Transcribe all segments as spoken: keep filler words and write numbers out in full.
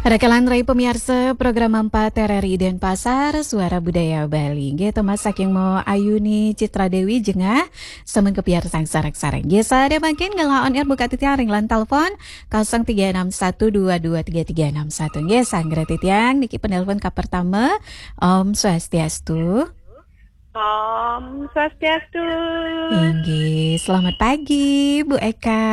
Rakalan rai pamiarsa program empat R R I Denpasar, Suara Budaya Bali. Nggih, Thomas saking Mo Ayuni Citra Dewi Jengah, sampun kapiarsang sareng-sareng. Nggih, sadaya mangkin ngelah on air buka titiang ring line telepon kosong tiga enam satu dua dua tiga tiga enam satu. Nggih, sanggra titiang niki penelpon kapertama. Om Swastiastu. Om Swastiastu. Inggih, selamat pagi, Bu Eka.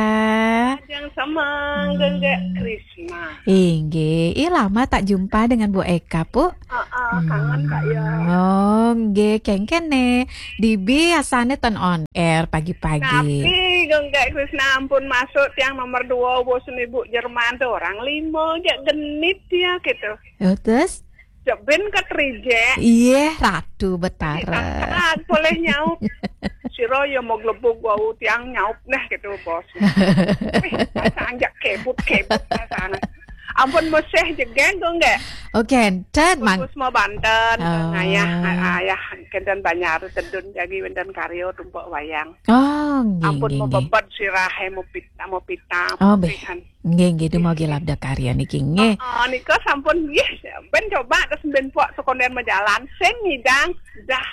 Yang sama, Hmm. Gengge Krisma. Inggih, ih, lama tak jumpa dengan Bu Eka, Bu. Ah, ah, kangen, Kak, ya. Oh, nggih, kengken ne. Dibi asane ten on air pagi-pagi. Tapi, Gengge Krisna, ampun masuk tiang nomor dua, bos ibu Jerman tuh orang lima, jak genit dia gitu. Oh, terus? Cek ben kat reject. Iya, Ratu Betara. Taat boleh nyaup. Sira ya mau glebug wau tiang nyaup neh gitu, bos. Wih, pasang jak kebut-kebut pasang. Ampun meseh jegeng kok nggak? Oh, kenten, Mang. Bos mau Banten, Oh. Ayah, ayah, kenten Banjar, tedun jagi wenten karyo tumpuk wayang. Oh, nggih, Ampun nggih, mau nggih. Bebet sirah, mau pita, mau pita, Oh, mau beh. Pihan. Nggih, nggih, dumogi labda karya niki, nggih. Oh, nika sampun, nggih, ben coba terus ben pok sekonden majalan, sing ngidang, dah,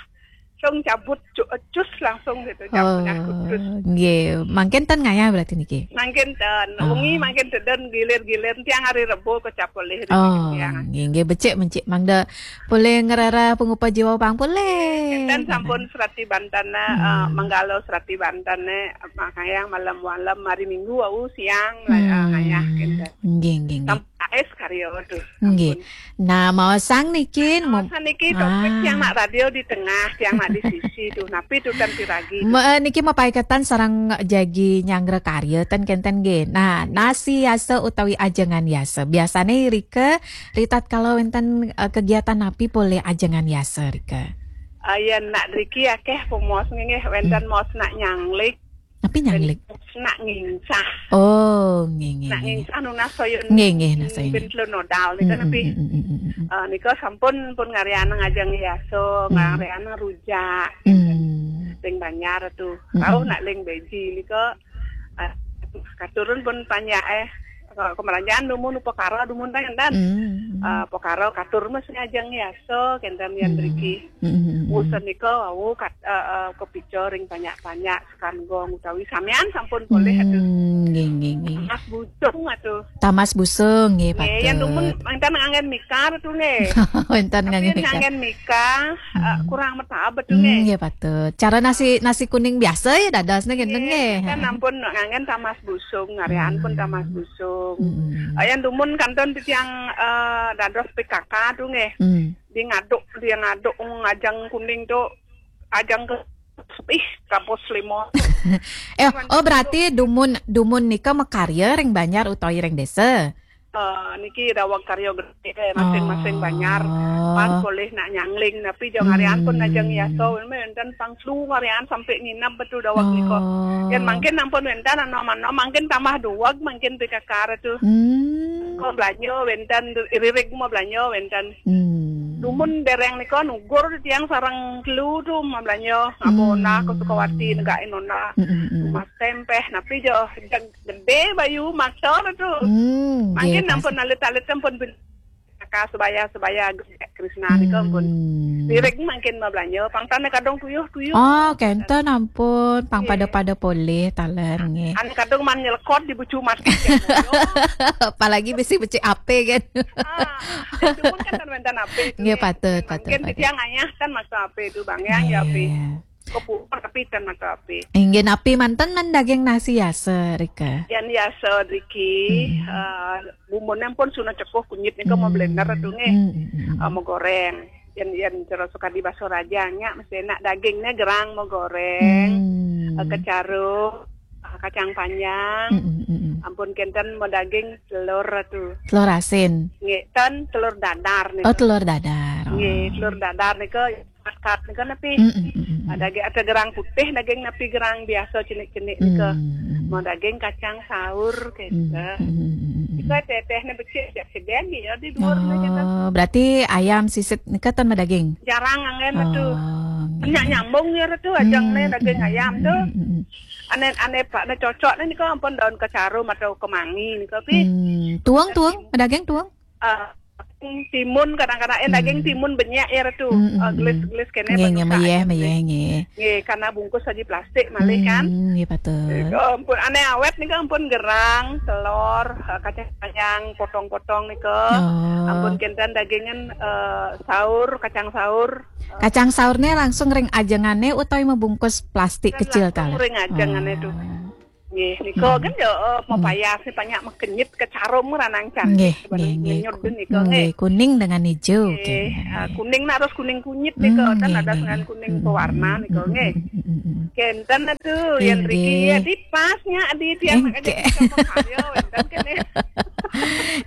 sung cabut, cu-, cus langsung gitu, cabut, Oh, dah, cus. Nggih, mangkin ten ngayah berarti niki? Mangkin ten, Oh. Wengi mangkin teden gilir-gilir, tiang hari Rebo kecap oleh Oh, tiang. Nggih, nggih, becik, becik, mangda boleh ngerara pengupa jiwa pang boleh. Enten sampun serati Banten, eh, Hmm. Manggala serati Banten, eh, makanya malam-malam hari Minggu wau siang, eh, Hmm. Ngayah kenten. Nggih, nggih, nggih. Sampai es karya, aduh, Nggih. Ampun. Nah, mau sang niki, mau Nah, niki topik Ah. yang nak radio di tengah, yang nak di sisi tuh. Napi tuh kan piragi tuh. Me-, eh, niki mapaiketan sareng jagi nyanggra karya ten kenten nggih. Nah, nasi yasa utawi ajengan yasa. Biasane rika Ritat kalau wenten, eh, kegiatan napi polih ajengan yasa, Rika? Ah, yen nak driki akeh pemos nggih, wenten Hmm. mos nak nyanglik. Napi nyanglik? Wenten mos nak nginsah. Oh, nggih, nggih, Nak nggih. Nginsah nunas soyun Nggih, nggih, nunas soyun. Ben telur nodal nika Hmm, napi. Hmm, hmm, hmm, hmm, hmm. Ah, nika sampun pun ngarian ngajeng yasa, Hmm. ngarian rujak. Hmm. Ring Banjar tuh. Hmm, Rauh hmm. Nak ling beji nika, ah, katurun pun panjak eh. Kemeranjaan dumun upakara dumun ta enten. Hmm. Ah, pakara katur mas ngajeng yasa kenten yan Hmm. driki. Hmm. Usen nika wau kat-, ah, ah, kepica ring panjak-panjak sekan gong utawi samian sampun polih atuh. Hmm, nggih, nggih, nggih. Tamas busung atuh. Tamas busung, nggih, Nggih, yan patut. Dumun enten nganggen mikar tuh nggih. Wenten Tapi nganggen mikar. Nganggen mikar, ah, Hmm. kurang metab atuh Hmm, nggih. Nggih, patut. Cara nasi, nasi kuning biasa ya dadosne kenten Nggih, nggih. Kan ampun nganggen tamas busung, ngarian pun Hmm. tamas busung. Hmm. Ah, yan dumun kanton titiang, eh, dados P K K tuh nggih. Hmm. Di ngaduk, di ngaduk ngajeng kuning tuh, ajeng ke, ih, kampus lima. Eh, Cuman oh, berarti dumun, dumun nika makarya ring Banjar utawi ring desa? Eh, niki daweg karya gedhe, masing-masing Oh. Banjar. Pan polih nak nyangling, napi jo ngarian pun Hmm. najeng yasa, wenten pang telu ngarian sampai nginep betul daweg nika. Oh. Yan mangkin ampun wenten anom-anom, mangkin tambah duweg, mangkin P K K tu. Hmm. Kok belanja wenten, ririg mau belanja wenten. Hmm. Dumun dereng nika nugur tiang sareng telu tu mau belanja. Ngabo Hmm. Ona ke Sukawati, negain Ona. Hmm, hmm, hmm. Mas tempeh, napi jo, gedhe bayu maksa tu. Hmm, Mangkin nggih, ampun pas. Alit-alit ampun bin-, ka sebaya-sebaya Krisna nika ampun. Hmm. Lirik mangkin mabelanja, pang tane kadung tuyuh-tuyuh. Oh, kenten ampun, pang Nggih. Pada-pada polih taler nggih. Ane kadung man nyelekot di bucu mati. Apalagi bisi becik ape kan. Ah, dumun kan kan wenten ape tu Nggih, nggih. Patut, patut, Mangkin patut. Titiang ayah kan maksa ape tu bang, ya, ya ape. Nggih. Kepuan tapi ten mata api. Inggih napi manten men daging nasi yasa, Rika? Yan yasa driki, Hmm. eh, bumbune pun suna cekuh kunyit nika mau Hmm. blender tu nggih. Hmm, hmm, hmm, hmm. Eh, mau goreng. Yan, yan cara suka di baso raja nya mesti enak dagingne gerang mau goreng. Hmm. Eh, kecaru, eh, kacang panjang. Hmm, hmm, hmm, hmm. Ampun kenten mau daging telur tu. Telur asin. Nggih, ten telur dadar nika. Oh, telur dadar. Oh. Nggih, telur dadar nika Makat nika napi? Mm, mm, mm, mm, mm. Ah, daging ada gerang putih, daging napi gerang biasa cenik-cenik nika. Mm, mm. Mau daging kacang saur, Mm, gitu. Mm, mm, mm, mm. Nika teteh ne becik, jak sedeng, ya, di dua rumah kita. Oh, berarti ayam sisit nika tan daging? Jarang anggen, betul. Oh, nggih. Nyak nyambung ya, tu, ajang ne daging ayam tu. Mm, mm, mm, mm. Ane, ane, Pak, ne cocok ne nika ampun daun kecarum atau kemangi nika, pi. Hmm, tuang, tuang, daging tuang? eh, timun, kadang-kadang, eh, daging timun banyak ya, Ratu. Eh, gelis-gelis kene. Nggih, nggih, mayeh, mayeh, nggih. Nggih, karena bungkus aja plastik malih kan. Hmm, nggih, patut. Nika ampun, ane awet nika ampun gerang, telur, eh, kacang-kacang, potong-potong nika. Oh. Ampun kenten dagingan, eh, saur, kacang saur. Kacang saurnya langsung ring ajengane utawi mabungkus plastik kecil langsung ta? Ring ajengane tuh. Oh. Nggih, nika kan ya, eh, mau payas nih, banyak makenyit ke carum ranang cantik. Nggih, nggih, nggih. Ngenyut nika, nggih, nggih. Kuning dengan hijau, nggih, kenten. Ah, kuning nak harus kuning kunyit nika, kan ada dengan kuning pewarna nika, nggih. Kenten tuh, yang riki ya, di pasnya, di tiang nak aja sama karya, wenten kene.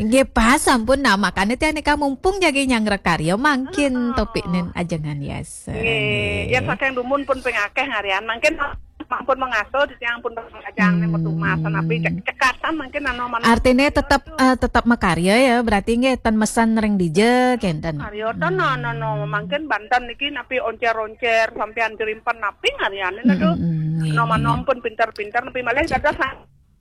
Nggih, pas sampun. Nah, makanya tiang nika mumpung jagi nyanggra karya, mangkin topik nen ajengan yasa. Nggih, ya saking dumun pun pengakeh ngarian, mangkin ampun mengasuh, di tiang pun ajang nih metu masan, tapi cek-, cekatan mangkin anu manuk. Artinya tetap, eh, tetap makarya ya, berarti nggih ten mesen ring dija kenten. Karya ten, no, no, no, mangkin banten niki napi oncer-oncer, sampean jerimpen napi ngariane, aduh. Nggih, no, nggih, manom pun pinter-pinter, napi malih dados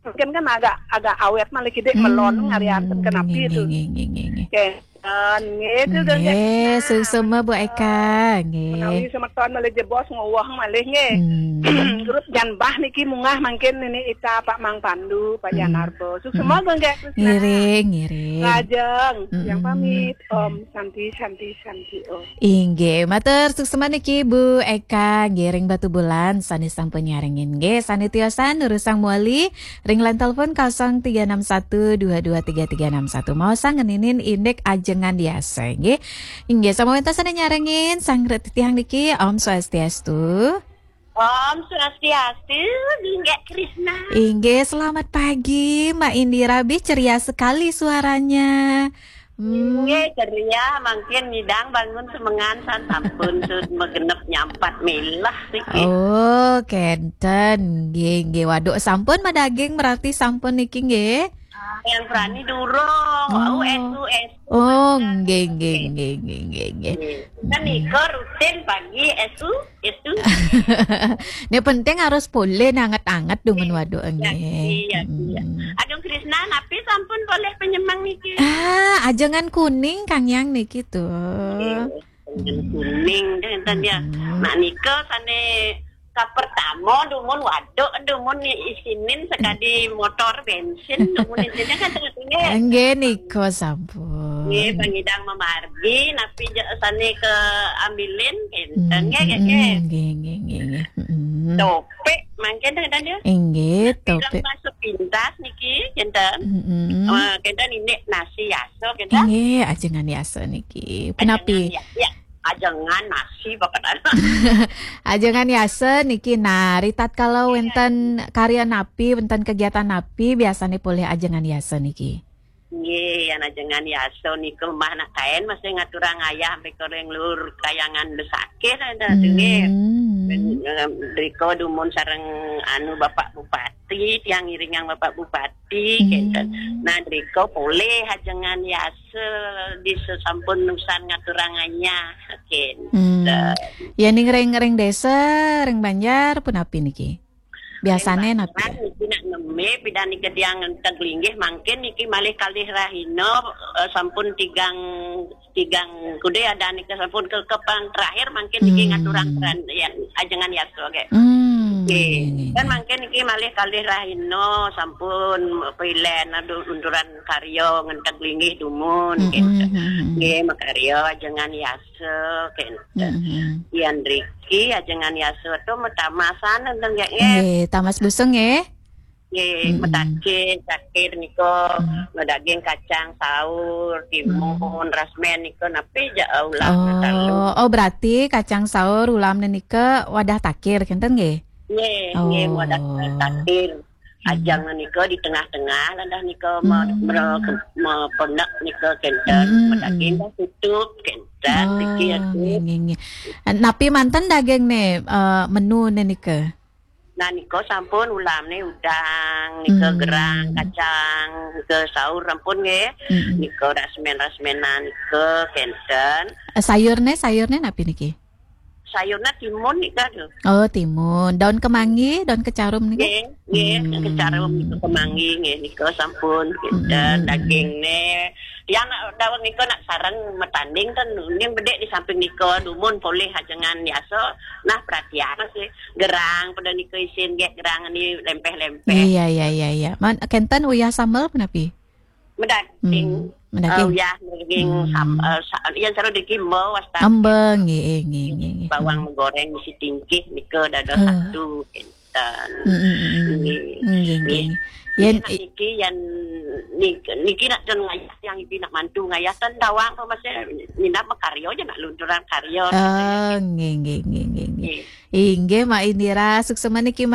mungkin kan agak, agak awet malih kidik melon ngarian ten kenapi itu. Nggih, nggih, nggih, nggih. Oke. Nggih, itu dah, nggih, suksma Bu Eka, nggih. Menawi semeton malih jebos ngowah malih, nggih. Grup Janbah niki munggah mangkin nini Ita, Pak Mang Pandu, Pak Janarbo. Suksma, nggih, Krisna. Ngiring, ngiring. Lajeng, yang pamit, Om Santi, Santi, Santi, Om. Inggih, matur suksma niki Bu Eka, nggih, ring Batubulan, sane sampun nyarengin, nggih, sane tiosan nurusang mawali, ring line telepon kosong tiga enam satu dua dua tiga tiga enam satu. Mau sang ngeninin indik ajengan yasa, nggih. Inggih, sama wenten sane nyarengin, sang ret titiang niki, Om Swastiastu. Om Swastiastu, Dinggek Krisna. Inggih, selamat pagi, Mbak Indira. Bih, ceria sekali suaranya. Hmm. Inggih, ceria, mangkin ngidang bangun semengan san sampun sud magenep nyampat milah niki. Oh, kenten. Nggih, nggih. Waduh, sampun madaging berarti sampun niki nggih. Yang berani durung. Oh. Wau, S U, S U. Oh, nggih, nggih, nggih, nggih, nggih, nggih. Nggih. Kan nika rutin pagi S U, S U. Ini penting harus polih anget-anget dumun waduh nggih. Iya, iya. Agung Krisna, napi sampun polih penyemang niki? Ah, ajengan kuning Kang Yang niki tuh. Nggih. Kuning, enten ya. Nak nika sane kapertama dumun waduk, dumun ni isinin sekadi motor bensin, dumun isinin kan tengah-tengah. Nggih, nika sampun. Nggih, pangidang mamargi, napi ja sane ke ambilin, enten, nggih, nggih, nggih. Nggih, nggih, nggih, nggih. Topik, mangkin enten ya. Nggih, topik. Sepintas niki, kenten. Eh, kenten ini nasi yasa, kenten. Nggih, ajengan yasa niki. Punapi? Ajengan ya, ya. Ajengan nasi, pokoknya. Ajengan yasa niki, nah, ritatkala wenten karya napi, wenten kegiatan napi, biasane polih ajengan yasa niki. Nggih, yan ajengan yasa nika mah nak kaen masih ngaturang ayah sampai ke ring lur kayangan besakit ada tuh, nggih. Rika dumun sareng anu Bapak Bupati, tiang ngiringang Bapak Bupati, kenten. Nah, rika polih ajengan yasa di sesampun nusan ngaturang ayah, kenten. Ya, ning ring, ring desa, ring banjar, punapi niki? Biasane napi? Niki nak neme, pidan niki tiang teg linggih, mangkin niki malih kalih rahina, eh, sampun tigang, tigang kude ada niki sampun ke, ke pang terakhir, mangkin niki ngaturang peran, ya, ajengan yasa, nggih. Nggih, nggih, nggih. Kan mangkin niki malih kalih rahina, sampun pilen, aduh, unduran karya, ngenteg linggih dumun, gitu. Nggih, makarya, ajengan yasa. Kenten. Yan riki ajengan yasa tu matamasan enten ya, nggih. Nggih, tamas busung nggih. Nggih, matakir, takir nika, madaging kacang saur, timun, rasmen nika napi ja ulam talu. Oh, berarti kacang saur ulam nika wadah takir kenten nggih? Nggih, nggih, wadah takir. Ajang nika di tengah-tengah, ladah nika me-, me-, mepenek nika kenten, madaging dah tutup kenten, riki ya, nggih, nggih, nggih. Napi manten daging ne, eh, menu ne nika? Nah, nika sampun ulam ne udang, nika gerang, kacang, nika saur ampun nggih. Nika rasmen-rasmenan nika kenten. Eh, sayur ne, sayur ne napi niki? Sayurnya timun nika tuh. Oh, timun. Daun kemangi, daun kecarum nika? Nggih, nggih, kecarum nika, kemangi nggih nika sampun. Kenten, daging ne, Tiang nak daweg nika nak sareng matanding kan, ning bedek di samping nika dumun polih ajengan biasa. Nah, perhatian masih gerang pada nika isin gek gerang ni lempeh-lempeh. Iya, iya, iya, iya. Man, kenten uyah sambel punapi? Medaging. Hmm, medaging. Uh, uyah medaging Hmm. sam, uh, sa, yang selalu dikimbo wasta. Embeng, nggih, nggih, nggih, nggih. Bawang goreng mesti tingkih nika dada Eh. satu kenten. Hmm, hmm, hmm, hmm. Nggih. Nggih, nggih, Nggih. nggih. Yen Nah, niki yang niki, niki nak ten ngayah, yang ibi nak mantu ngayah ten tawang apa masih minat makarya je nak lunturan karya. Ah, nggih, nggih, nggih, nggih, nggih. Nggih. Inggih, Mak Indira, suksema niki, Mak